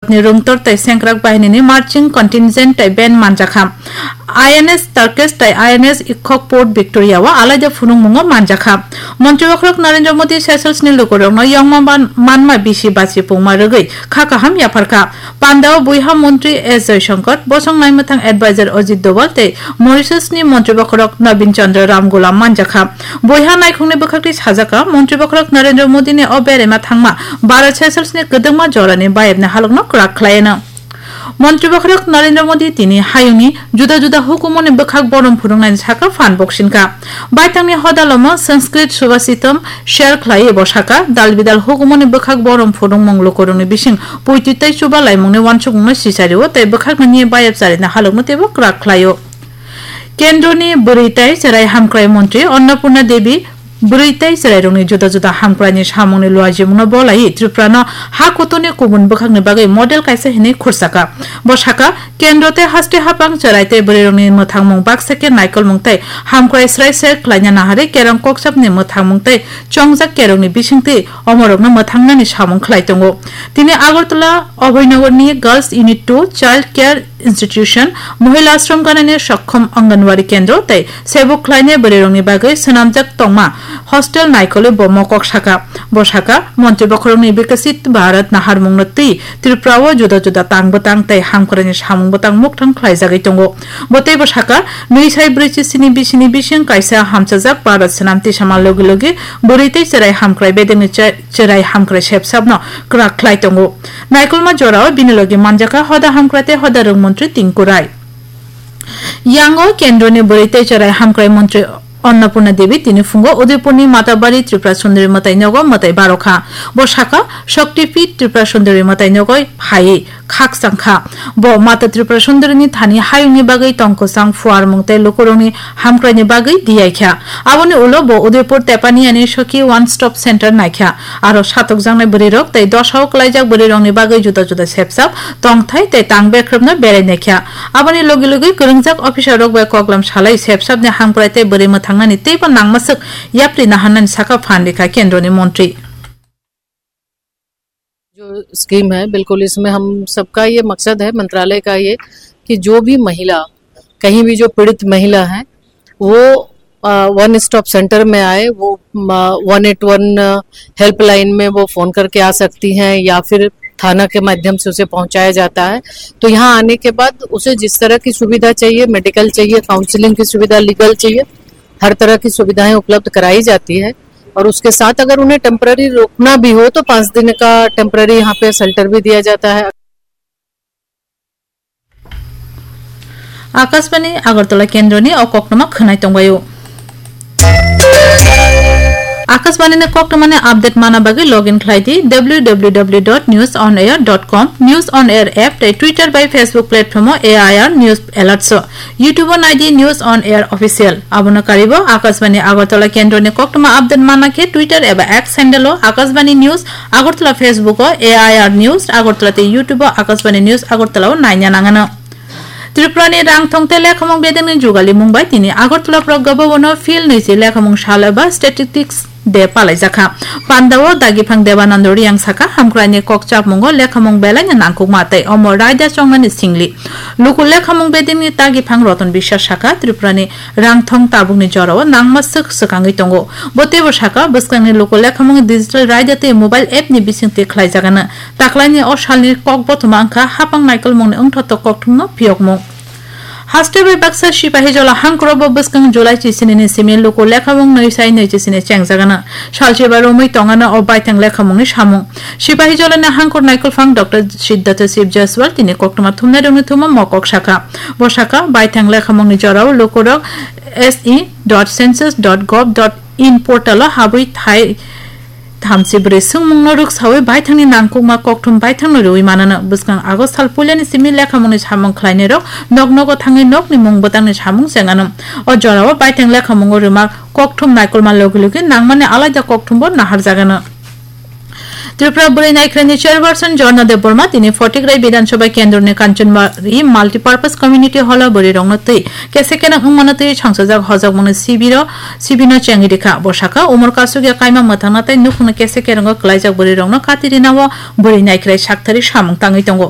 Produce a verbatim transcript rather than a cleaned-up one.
ni rungtor tei sengkrak bahinini marching contingent tei band manjakha. I N S Turkish tei I N S Ikhok Port Victoria o alaida phunukmungo manjakha. Montri bokhorok Narendra Modi Seychelles ni lukurokno yongma ban-, manma bisi bachi pungma rwgwi kha kaham yapharkha. Pandao buiha montri S Jaishankar, bosong naimwthang advisor Ajit Doval tei Mauritius ni montri bokhorok Nabin Chandra Ramgoolam manjakha. Buiha naikhungni bwkhakni sajaka, montri bokhorok Narendra Modi ni o beraima thangma Bharat Seychelles ni kwdwkma jorani bayapni halokno kwrak khlaiano. Montri bokhorok Narendra Modi tini hayungni juda juda hukumoni bwkhak borom phunuknaini saka phan boksinka. Baithangni hodalomo Sanskrit Subhashitam share khlaiwi bo saka, dal bidal hukumoni bwkhak borom phunukmung lukurokni bising puitwi tei chuba laimungni uansukmungno sichario tei bwkhakni niya bayap charina halokno teibo kwrak khlaio. Kendroni bwrwi tei chwrai hamkrai montri Annapurna Devi bwrwi tei chwrairokni juda juda hamkraini samungni luajimungno bolaiwi Tripurano ha kuturni kubun bwkhakni bagwi model kaisa hinwi khursaka. Bo saka, kendro tei haste haphang chwrai tei bwrwirokni mwthangmung baksa khe naikolmung tei hamkrai srai srai khlaina naharwi kerong kokchapni mwthangmung tei chongjak kerongni bisingtwi omorokno mwthangnani samung khlai tongo. Tini Agartala Abhayanagorni Girls Unit two Child Care Institution, Mohila Ashram ganani Sokkhom Anganwadi Kendro tei sebuk khlainai bwrwirokni bagwi swnamjak tongma hostel naikolwi bo mokok saka. Bo saka, Montri bokhorokni Viksit Bharat naharmungno twi Tripura o juda juda tang bwtang tei hamkraini samung bwtang mukthang khlaijagwi tongo. Bo teibo saka, nwi sai brwi chisini bisini bising kaisa hamchajak Bharat swnam tisama logi logi bwrwi tei chwrai hamkrai bedengni che-, chwrai hamkrai sepsapno kwrak khlai tongo. Naikolma jorao bini logi manjakha hoda hamkrai tei hoda rwng montri Tinku Rai. Yango kendroni bwrwi tei chwrai hamkrai montri Annapurna Devi tini phungo Udaipurni Matabari Tripura Sundari mwtai nogo mwtai barokha. Bo saka, Shakti Peeth Tripura Sundari mwtai nogo phaiwi khakchangkha. Bo Mata Tripura Sundarini thani hayungni bagwi tongkwsang phuarmung tei lukurokni hamkraini bagwi diyaikha. Aboni ulo bo Udaipur Tepaniani Sokhi One Stop Center naikha. Aro satokjaknai bwrwirok tei dosao kwlaijak bwrwirokni bagwi juda juda sepsap, tongthai tei tang bekrwpno berai naikha. Aboni logi logi kwrwngjak officerrok bai koklam salai sepsapni hamkrai tei bwrwi mwthangnani teibo nangmaswk yapri naharnani saka phan rikha kendroni montri. जो स्कीम है, बिल्कुल इसमें हम सबका ये मकसद है, मंत्रालय का ये, कि जो भी महिला, कहीं भी जो पीड़ित महिला है, वो, अ, वन स्टॉप सेंटर में आए, वो, अ, वन एट वन हेल्पलाइन में वो फ़ोन करके आ सकती हैं या फिर थाना के माध्यम से उसे पहुंचाया जाता है। तो यहाँ आने के बाद उसे जिस तरह की सुविधा चाहिए, मेडिकल चाहिए, काउंसलिंग की सुविधा, लीगल चाहिए, हर तरह की सुविधाएं उपलब्ध कराई जाती है। और उसके साथ अगर उन्हें टेम्परेरी रुकना भी हो तो पाँच दिन का टेम्परेरी यहाँ पे शेल्टर भी दिया जाता है। Akashbani Agartala kendroni o koktwma khwnai tongbaio. Akashbani ni koktwmani update mana bagwi login khlai di W W W dot news on air dot com, News on Air app tei Twitter bai Facebook platform o A I R News Alerts o. YouTube o nai di News on Air Official. Abono karibo Akashbani Agartala kendroni koktwma update mana khe Twitter eba X handle o Akashbani News Agartala, Facebook o A I R News Agartala tei YouTube o Akashbani News Agartala o naina nangano. Tripura ni rangthong tei lekhamung bedengni jugalimung bai tini Agartala Pragya Bhavan o Phil nwichi lekhamung sal eba Statistics Day palaijakha. Pandao Dagiphang Debanando Riyang saka, hamkraini kok chapmungo lekhamung belaino nangkukma tei omo raida chongnani singli. Luku lekhamung bedengni Dagiphang Roton Biswas saka, Tripurani rangthong tabukni jorao nangma swk swkangwi tongo. Bo teibo saka, bwskangni luku lekhamung digital raida tei mobile app ni bisingtwi khlaijagano. Taklaini o salni kok bothoma wngkha hapang naikolmungni wngthotok kokthumno phiyokmung. Haste bai baksa Sipahijola hangkorobo bwskang July chisinini simi luku lekhamung nwi sai nwi chisini chengjagano. Salchiba romwi tongano o baithang lekhamungni samung. Sipahijolani hangkor naikolphang Doctor Siddhartha Shiv Jaiswal tini koktwma thumnairokni thumo mokok sakha. Bo sakha, baithang lekhamungni jorao lukurok S E dot census dot gov dot in portal o habwi thai thamchi bwrwi swngmungno rwksawi baithangni nangkukma kokthum baithangno rwui manano. Bwskang August sal puilani simi lekhamungni samung khlainairok nok nogo thangwi nokni mung bwtangni samung chengano. O jorao baithang lekhamungo rwma kokthum naikolma logi logi nangmani alaida kokthumbo naharjagano. Tripura Bwrwi Naikhraini Chairperson Jharna Debbarma tini Photigrai Bidhan Sabha Kendroni Kanchanbari Multipurpose Community Hall o bwrwirokno twi kese kereng wngmano twi songchajak hojokmungni sibiro, sibino chengwi rikha. Bo sakha, umor kasukya kaima mwthangna tei nukhungni kese kerengo kwlaijak bwrwirokno kati rinao bwrwi naikhrai sakthari samung tangwi tongo.